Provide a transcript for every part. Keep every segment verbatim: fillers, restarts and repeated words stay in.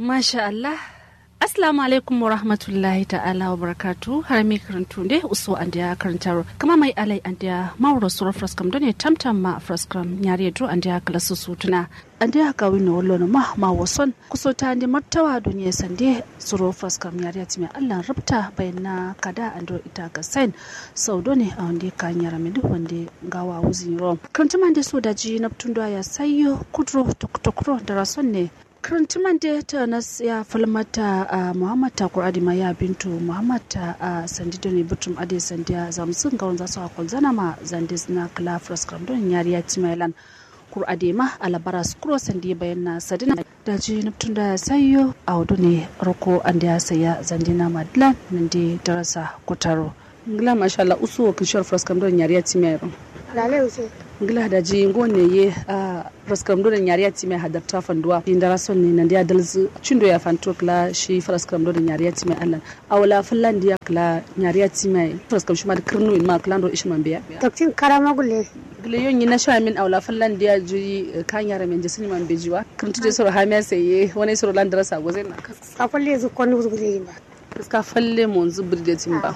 Masha allah. Assalamu alaikum wa rahmatullahi ta'ala wa barakatu. Harami karantu nde uso andiya karantaro kama mai alai andiya mawuro suro fraskam done tamtam ma fraskam nyariye duro andiya kalasu sutuna. Andiya kawino wallono ma ma wason kusota ande martawa duniya sande suro fraskam nyariya timiya allan rubta bayan na kada ando ita ga sain. Sau done a wande ka nyara mende wande gawa wuzin ro. Karantuma nde so daji naptun do aya sayyo kudro tokro darason ne. Karantuma nde ta nas ya falmata a muhammad ta kur'adi ma ya bintu muhammad ta a sandi done butum ade sandiya zamsun gawon zasu a kolzana ma zande zina kala fraskam done nyariya timiya lan. Kur'ade ma alabara sukuro sandi bayan na sadina. Daji naptun da sayyo a wado ne roko andiya saya zande na madilan nande darasa kutaro. Ngla masha allah usu wakil shor fraskam done nyariya timiya ro. Lale use. Ngla daji ngo ne ye a fraskam done nyariya timiya hadarta fanduwa indara son ne nande adalzu cindo ya fanto kla shi fraskam done nyariya timiya allah. Awla fallan diya kla nyariya timiya fraskam shima da kirnu in ma kla ndo ishin mambeya. Takcin karama gulle. Gile yon yi na sha min awla fallan diya juyi ka nyara men jesini mambejiwa kirntu je soro hamiya sai ye wani soro lan darasa gozena. Ka falle zu konu zu gulle ba. Kiska falle monzu birdetin ba.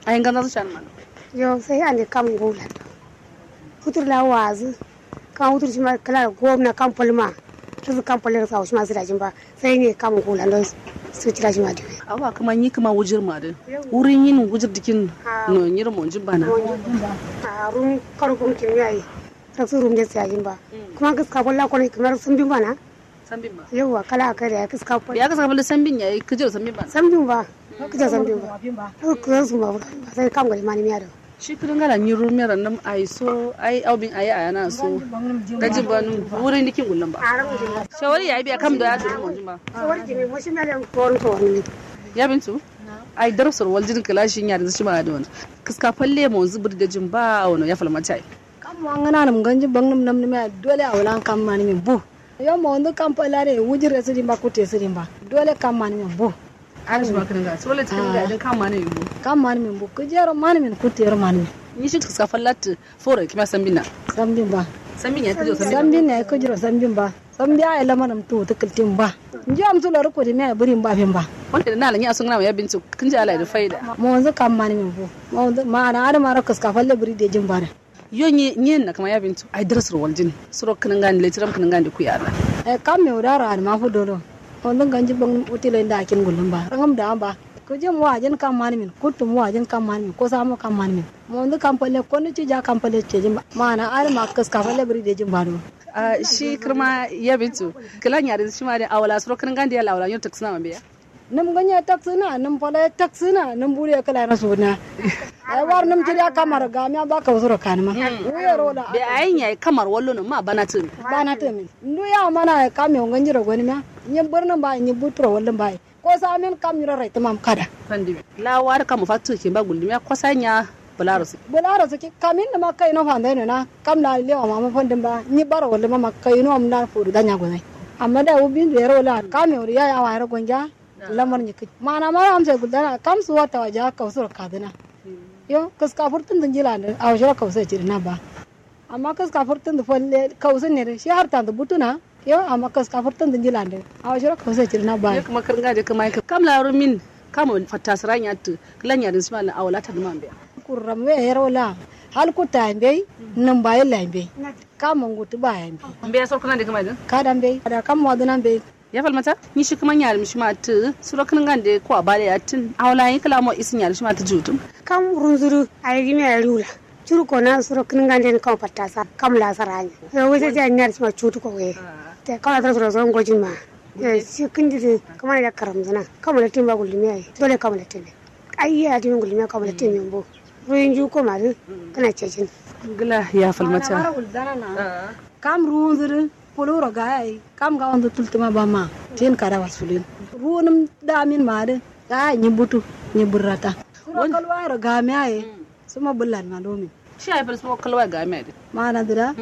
Ayi nganza su shan man. Yo sai ande kam ngula. Futur la wazu. Kam futur shima kala gomna kam falma. Tuzu kam falle sa shima zira jin ba. Sai ne kam ngula ndo su tira shima diwe. Awa kuma nyi kuma wujir ma din. Wurin yin wujir dikin. No nyir monjin bana. A rum karu kum kin yayi. Raksu rum de sai jin ba. Kuma kiska falla kono kamar sun bin bana. Sambin ba. Yauwa kala a kai da ya kiska fal. Ya kiska fal sambin ya yi kijir sambin ba. Sambin ba. Kijir sambin ba. Kijir su ma ba sai kam gari mani miya da. Shi kudin gala nyi rumiya rannam ai so ai aubin ai ayana so. Gaji ba nun wurin dikin gullum ba. Shawari ya yi biya kam da ya turu mun ba. Shawari jimi mo shi miya da korin to wani. Ya bintu. Ai darasar waljin kala shi ya da shi ma da wani. Kiska falle mo zubur da jin ba wani ya falmata ai. Kam wangana num ganji bang num nam num ya dole a wala kam mani min bu. Yo mo ndu kam pala de wujire sidi mba kute sidi mba dole kam mani min bu. An shi ma kinin ga sole cikin ga din kam mani min bu. Kam mani min bu kujero mani min kutero mani min. Ni shi kiska fallat fore kima sambina. Sambin ba. Sambin ya kujero sambin. Sambin ya kujero sambin ba. Sambi a ila manam tu tukul tim ba. Nji am sulo ruko di me buri mba fin ba. Wanda na la ni asun na ya bintu kin ji ala da faida. Mo ndu kam mani min bu. Mo ndu ma na ada mara kiska falle buri de jin ba da. Yo nyi nyi na kama ya bintu ai daras ro waljin suro kinin gani le tiram kinin gani ku yara. Ai kam me udara an ma fu dolo. Wanda ganji bang utile nda kin gulun ba rangam da ba. Ku jin wajin kam mani min kutum wajin kam mani min ko samo kam mani min. Mo ndu kam pale ko ni ci ja kam pale ce jin ba mana ar ma kas kam pale bri de jin ba do. Shi kirma ya bintu kila nyari shi ma de awala suro kinin gani de la awala yo taksina ma be ya. Num ganye taksina num pale taksina num buri kala na suna. Ai war num ci da kamar ga mi ba ka usuro kanma. Wuye rola be ayin yayi kamar wallo no ma bana tumi. Bana tumi ndu ya mana kam yo ganji ro goni ma. Nyi birnin ba nyi buturo wallin ba. Ko samin kam nyiro rai tumam kada. Fandi la war kam fatu ke ba gulmi ko sanya. Bularo su bularo su kamin ma kai no fanda no na kam la lewa ma fandin ba nyi baro wallin ma kai no am na furu danya gulmi. Amma da ubin yero la kam yo ya ya wa yero gonja. Lamar nyi kai mana mara am sai guldana kam su wata waja ka usuro kadina. Yo kiska furtun dun jilande a usuro ka usuro cirina ba. Amma kiska furtun du falle kausun ne shi har tandu butuna. Yo amma kiska furtun du njilande. Awo shiro kausun cirina ba. Yo kuma kirnga de kuma kam la rumin. Kam fatta sira nyatu kila nyadin sima la awala ta duma mbe. Kurram we yero la. Hal kuta mbe. Num ba yalla mbe. Kam ngutu ba mbe. Mbe sor kuna de kuma de. Kada mbe kada kam waduna mbe. Ya falmata ni shi kuma nyari mishima tu suro kirnga de ko abale yatin awala yin kila mo isin nyari shima tu jutum. Kam runzuru ayi gimi ayi rula. Curu kona suro kǝnǝngande kam fattasa kam la saranya. Yo wai sai sai anyar sima cutu ko wai. Te kam la suro suro ngojin ma. Yo shi kǝnji dǝ kǝmane da karamzǝna kam la timba gullimiya ye dole kam la timbe. Ai ye adimi gullimiya kam la timbe mbo. Ruwin ju koma dǝ kǝna cejin. Ngla ya falmata. Kam ruwunzǝ dǝ. Puluro gaya ye kam ngawonzǝ tultǝma bama tin kada wasulin. Ruwunǝm damin ma dǝ gaya nyi butu nyi burrata. Suro kalwayero gamiya ye. Suma bǝllan ma lumin. Shi ai fǝl suma kalwa gamiya dǝ. Mana dǝ da.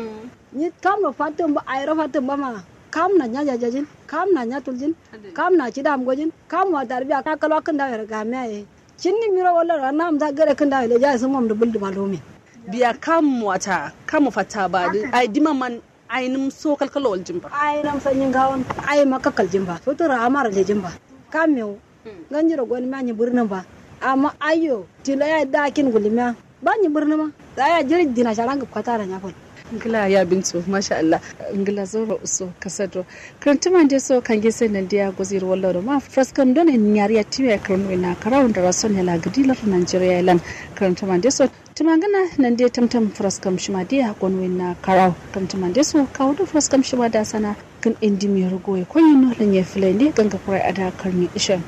Nyi kam no fattǝm ba airo fattǝm ba ma. Kam na nya jajajin kam na nya tuljin. Kam na cidam gojin kam wa tarbiya na kalwa kǝndawo yero gamiya ye. Cinni miro wallo ra namza gare kǝndawo yero leja ye sumam dǝ bǝldǝ ma lumin. Biya kam wata kam fatta ba dǝ ai dima man. Ainǝm so kalkalo waljin ba, ainǝm sanyin gawon, aima kakkaljin ba, fitoro amaro lejin ba. Kam mewu, ganjiro gonimiya nyi birnin ba. Amma aiyo tilo yayi dakin gulimiya ba nyi birni ma. Daya jiri dina sharan gabkata da nyafal. Ngla ya bintu masha Allah. Ngla zauro uso kasadro. Kǝrantǝmande so kange sai nandiya goziro wallo do ma fraskam done nyariya tiwe kǝrantǝmande na karawo ndara son yala gǝdi lardu nanjeriya yelan. Kǝrantǝmande so tǝmangǝna nandiya tamtam fraskam shima diya gonwe na karawo. Kǝrantǝmande so kawo do fraskam shima da sana. Kǝn indi mero goye konyino lanye fǝlainde ganga kurai ada karni ishen.